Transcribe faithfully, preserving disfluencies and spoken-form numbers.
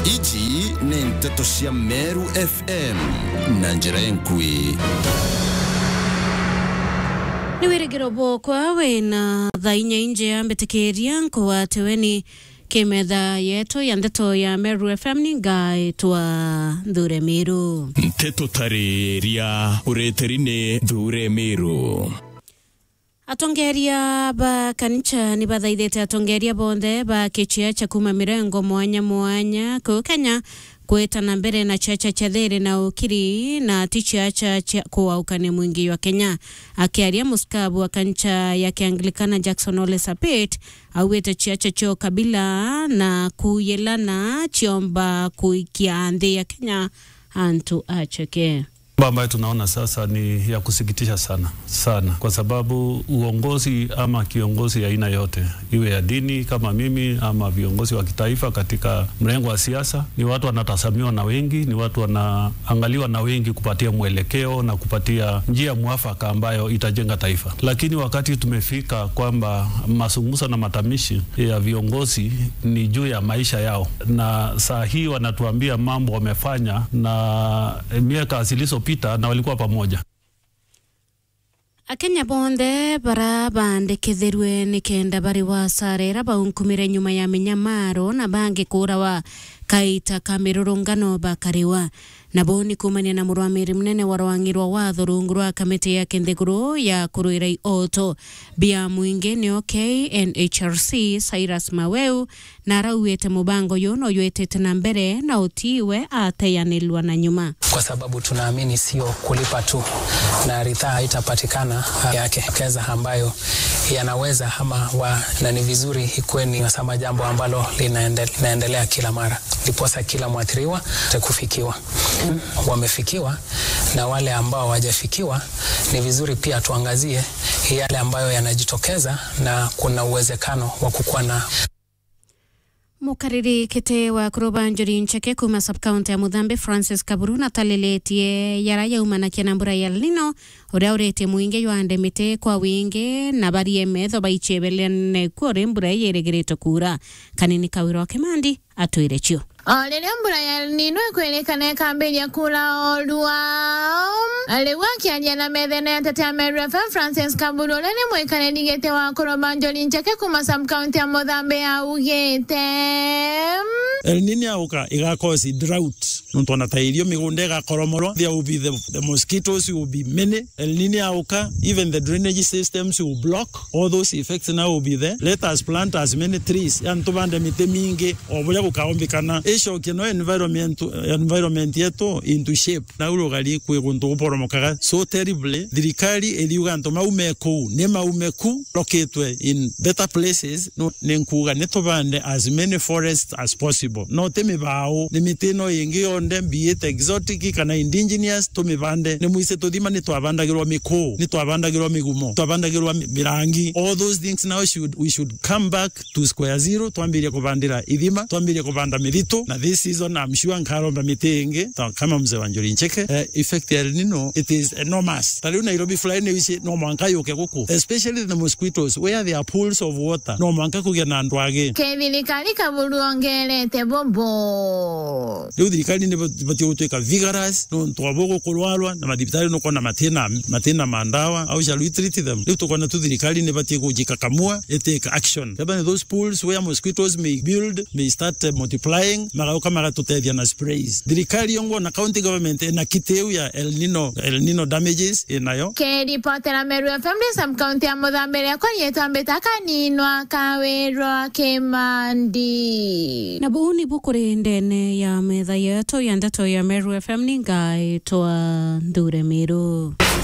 Iji ni nteto cia Meru F M na njira enkui. Ni wirigiro bwokwa wina thaa inya injea mbitikiria nkugwate weni kimetha yetu ya nteto ya Meru F M ni ngaitwa Nthure Miru. Nteto tariria ureteri ni Nthure Miru. Atongeria ba kanisa ni bathaithite atongeria bonthe ba kichiacha kuma mirengo mwanya mwanya ku Kenya kwita na mbere na chiacha cha thiri na ukiri na ti chiacha cha kuaukania mwingi jwa Kenya. Akiaria musikabu wa kanisa ya Kianglikana Jackson Ole Sapit augite chiacha cha ukabila na kuyilana chiomba kuikia nthi ya Kenya antu acheke. Mambo ambayo tunaona sasa ni ya kusikitisha sana sana, kwa sababu uongozi ama kiongozi ya aina yote, iwe ya dini kama mimi ama viongozi wa kitaifa katika mrengo wa siasa, ni watu wanatazamiwa na wengi, ni watu wanaangaliwa na wengi kupatia mwelekeo na kupatia njia mwafaka ambayo itajenga taifa. Lakini wakati tumefika kwamba mazungumzo na matamshi ya viongozi ni juu ya maisha yao, na saa hii wanatuambia mambo wamefanya na miaka zilizopita na walikuwa pamoja. Akenya bonthe bara bandikithirwe ni kenda bari wa sara ira baunkumire nyuma ya minyamaro na bangi kuurawa kaita ka mirurungano bakariwa. Nabo ni kuumania na murwamiri munene wa rwang'i rwa watho rungu rwa kamiti ya kinthiguru ya kurwira ioto bia mwingi nio K N H R C, Cyrus Maweu, na arauite mubango uyu no jwitite na mbere na utiwe ateyanirwa na nyuma. Kwa sababu tunaamini sio kulipa tu na ridhaa haitapatikana yake keza ambayo yanaweza ama wa, na ni vizuri ikuwe ni sama jambo ambalo linaende-, linaendelea kila mara, ndiposa kila mwathiriwa atakufikiwa. Wamefikiwa na wale ambao hawajafikiwa, ni vizuri pia tuangazie yale ambayo yanajitokeza na kuna uwezekano wa kukuwa na. Mukariri kiti wa kuruba Njuri Ncheke kuma sub-county ya Muthambi, Francis Kaburu, natalilitie yara yaumanakia na mbura ya El Nino, uria uritie mwingi jwande miti kwa wingi na barie metho baichebelene kuo ri mbura ii irigiritwe kuura. Kanini Kawira wa Kimandi atwire cio. O riria mbura ya El Nino ikwirikana ikambiria kuura orua, riu akiaria na methene ya Tetea Meru F M, Francis Kaburu, uria ni mwikariri giti wa kuruba Njuri Ncheke kuma sub-county ya Muthambi augite, El Nino yauka, iga cause drought. Nontu ona ta irio migunda igakoromorwa, there will be the, the mosquitoes will be many. El Nino yauka, even the drainage systems will block. All those effects now will be there. Let us plant as many trees. Yani tubande miti mingi, o buria bukaombikana. Icokie no environment, environment yetu into shape. Nau rugari kwi guntu guporomokaga so terribly. Thirikari iriuga antu maume kuu, ni maume ku, lokitwe in better places. No, ni nkuuga ni tubande as many forests as possible. No ti mibau, ni miti ino ingi yonthe, be it exotic kana indigenous, tumibande. Ni mwise tuthima ni twabandagirwa mikuu, ni twabandagirwa migumo, twabandagirwa mi-, mirangi. All those things now should, we should come back to square zero, twambirie kubandira ithima, twambirie kubanda mithitu, na this season I'm sure nkaromba miti ingi, ta kama mzee wa Njuri Ncheke. Eh, effect ya El Nino, it is enormous. Ta riu Nairobi fly ni wici, no mwanka yuke guku, especially the mosquitoes, where there are pools of water, no mwanka kugia na ndwagi. Ke thirikari Kaburu ongerete bobo. Riu thirikari ni bat-, batie gutwika vigorous, nontu wa bogo kurwarwa, na mathibitari nukwona matina, matina ma ndawa. How shall we treat them? Riu tukona tu thirikari ni batie kujikakamua, itake action. Kethira ni those pools where mosquitoes may build, may start, eh, multiplying, magauka magatutethia na sprays. Thirikari yongwa na county government ina kiti iu ya El Nino, El Nino damages inayo. Kiripotera Meru F M ndi sub-county ya Muthambi, riakwa riitwa Mbita Kaninwa Kawirwa Kimandi. Na buu nibu kuri ndene ya metha yetu ya ndeto ya Meru F M, ni ngaitwa Nthure Miru.